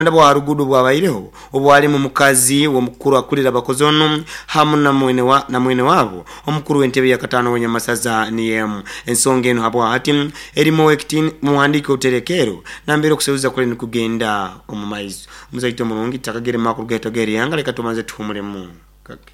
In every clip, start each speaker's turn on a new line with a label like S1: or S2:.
S1: Bwa harugudo bwabaireho obwalimu mukazi w'omukuru akulira abakozi ono hamu na mwene wa na mwene wabo omukuru w'entebe ya katano w'Enyamasaza niyemu. Ensonga eno habwa hati erimu ekitini muhandike oterekero nambere okuseruza kule nikugenda omu maiso. Omuzaito omurungi takagere makuru gaitu ag'erihanga, leka tubanze tuhumulemu kake.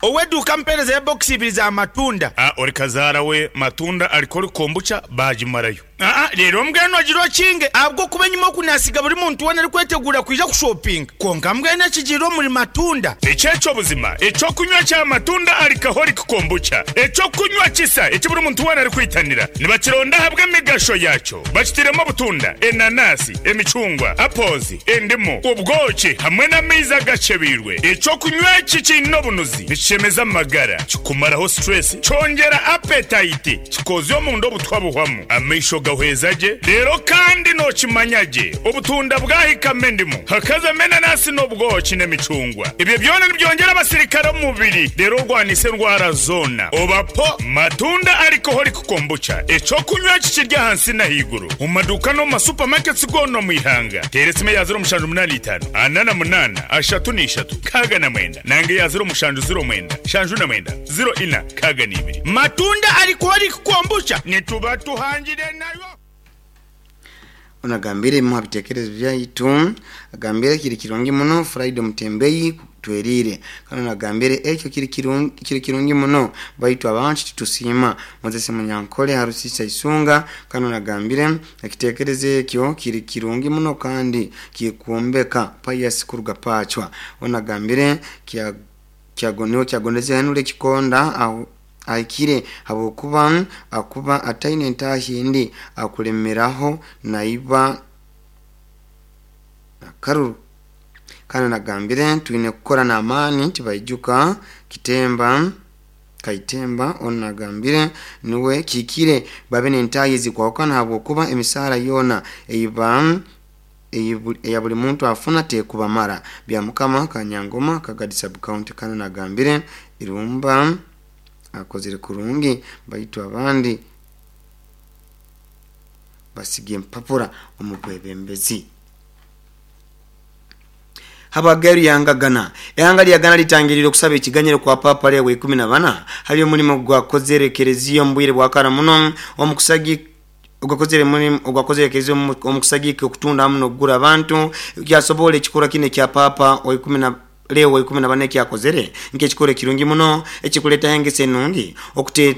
S2: Ow'eduuka ampeereza ebokisi ibiri za matunda.
S3: A Ori kazaara we matunda arikora kombucha baagimarayo.
S2: Aa Reero mbwenu ogire okinge ahabw'okuba enyima oku naasiga buri muntu weena arikweteguura kwija kushopinga. Kwonka mbwenu ekigiire omuri matunda.
S3: Eki eky'obuzima, eky'okunywa kya matunda alcoholic kombucha, eky'okunywa kisa eki buri muntu weena arikwitanira. Nibakironda ahabw'emigasho yaakyo. Bakitairemu obutunda, enanasi, emicungwa, apples, endimu, obwoki hamwe n'amaizi agakyebeirwe. Eky'okunywa eki kiine obunuzi, nikishemeza amagara, kikumaraho stress, kyongyera appetite, kikoozya omunda obutwa buhwamu, amaisho gahweza gye, reero kandi nookimanya gye obutunda bwahikamu endimu, hakazamu enanasi n'obwoki n'emicungwa. Ebyo byona nibyongyera abasirikare omu mubiri reero orwanise endwara zoona. Oba po Matunda Alcoholic Kombucha, eky'okunywa eki kiri ahansi n'ahaiguru omu maduuka n'omu ma supermarkets goona omu ihanga. Teera esimu eya 0785 48 33 69 nanga eya 0709 79 04 62.
S2: Matunda Alcoholic Kombucha nituba tuhangire nayo.
S1: Ono agambire ebimu ha bitekerezo byaitu, agambire kiri kirungi muno Friday Mutembeyi twerire. Kandi ono agambire ekyo kiri kirungi, kiri kirungi muno baitu abantu titusiima. Moses Munyankole Harusisa Isunga kandi ono agambire ekitekerezo ekyo kiri kirungi muno kandi kikwombeka. Pius kuruga Pachwa ono agambire kya kyagoniwe kyagondeze henule ekikonda aho ahikire habwokuba akuba ataine entahi endi akulemeraho naiba nakaruru. Kandi nagambire twine kukora n'amaani tibaijuka kitemba Kaitemba onu nagambire niwe kihikire babe n'entahi ezikwahukana habwokuba emisaara yoona eiba eya buli muntu afuna tekubamara. Byamukama Kanyangoma Kagadi sub county kandi nagambire Irumba akozire kurungi baitu abandi basiga empapura omu bwebembezi. Habagaru yangagana ehanga lya Ghana litangirire okusaba ekiganyiro kwa Papa Leo wa 14 hali omulimo gwakozere ekereziya omu bwire bwa kara muno omukusagi ogwakozere mulimu ogwakozere ekereziya omukusagika okutunda hamu n'okugura abantu kyasobola ekikorwa kinu ekya Papa wa ikumi na Leo wa 14 ekyakozere nk'ekikorwa ekirungi muno ekikuletaho engeso enungi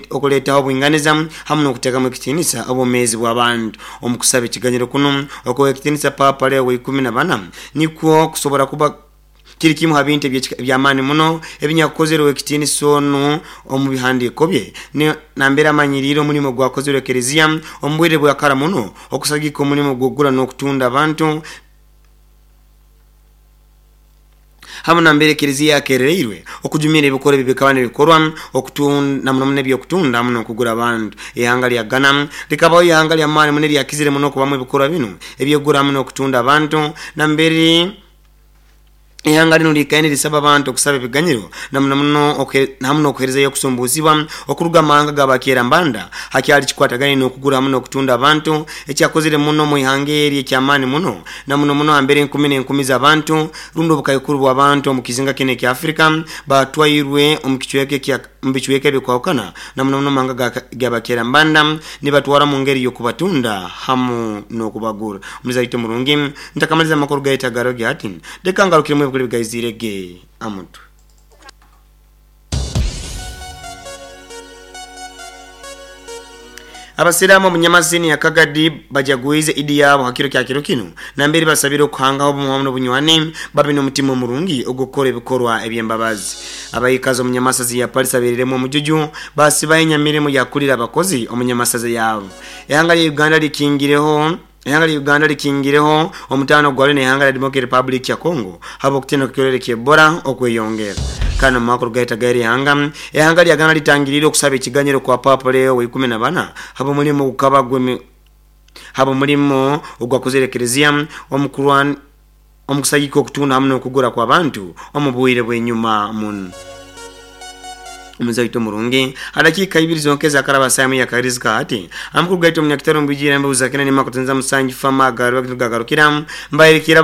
S1: okuletaho obwinganiza hamu n'okutekamu ekitiinisa obwomeezi bw'abantu. Omu kusaba ekiganyiro kunu okuha ekitiinisa Papa Leo wa 14 nikwo kusobora kuba kiri kimu ha bintu eby'amaani muno ebinyakukozerwe ekitiinisa onu omu bihandiiko bye nambere amanyiriire omulimo gwakozerwe ekereziya omu bwire bwa kara muno okusagika omulimo gw'okugura n'okutunda abantu hamu nambere ekereziya yakerereirwe okujumira ebikorwa ebi bikaba nibikorwa okutunda muno muno eby'okutunda hamu n'okugura abantu. Ihanga lya Ghana likabaho ihanga ly'amaani muno eryakizire muno okubamu ebikorwa binu eby'okugura hamu n'okutunda abantu nambere ihanga linu liikaire nirisaba abantu okusaba ebiganyiro na muno muno hamu n'okuheerezayo okusumbuuzibwa okuruga mu mahanga g'abakerambanda hakyali kikwatagaine n'okugura hamu n'okutunda abantu ekyakozere muno omu ihanga eri eky'amaani muno na muno muno hambere enkumi n'enkumi z'abantu rundi obukaikuru bw'abantu omu kizinga kinu ekya Afrika batwairwe omu kicweka ekya omu bicweka ebikwahukana na muno muno mahanga g'abakerambanda nibatwara mu ngeri y'okubatunda hamu n'okubagura. Omuzaito murungi ntakamaliza amakuru gaitu agaroge hati leka ngarukiremu ebikuru ebigaizire ge amutwe. Abasiraamu omu Nyamasini ya Kagadi bajagwize Idi yaabo ha kiro kya kiro kinu nambere basabire okuhangaho obumu hamu n'obunywani babe n'omutima omurungi ogw'okukora ebikorwa eby'embabazi. Abaikazi omu Nyamasazi ya Palisa beriremu omujuju basibaho enyamirimo yakulira abakozi omu Nyamasazi yaabo. Ihanga lya Uganda likingireho Ihanga lya Uganda likingireho omutaano gwalyo n'ihanga lya Democratic Republic ya Congo habw'okutiina kw'ekirwaire kya Ebola okweyongera. Kandi omu makuru gaitu ag'erihanga, ihanga lya Ghana litangiriire okusaba ekiganyiro kwa Papa Leo wa 14 habw'omulimo ogukaba habw'omulimo ogwakozere ekereziya omu kurwan omu kusagika okutunda hamu n'okugura kw'abantu omu bwire bw'enyuma muno. Omuzaito murungi adakiika 2 zonke zakaraba samu ya karizika ati amakuru gaitu omunyakitaro mbijira mbuza kena nima kutenza musanji fama garu gagarukira mbairikira.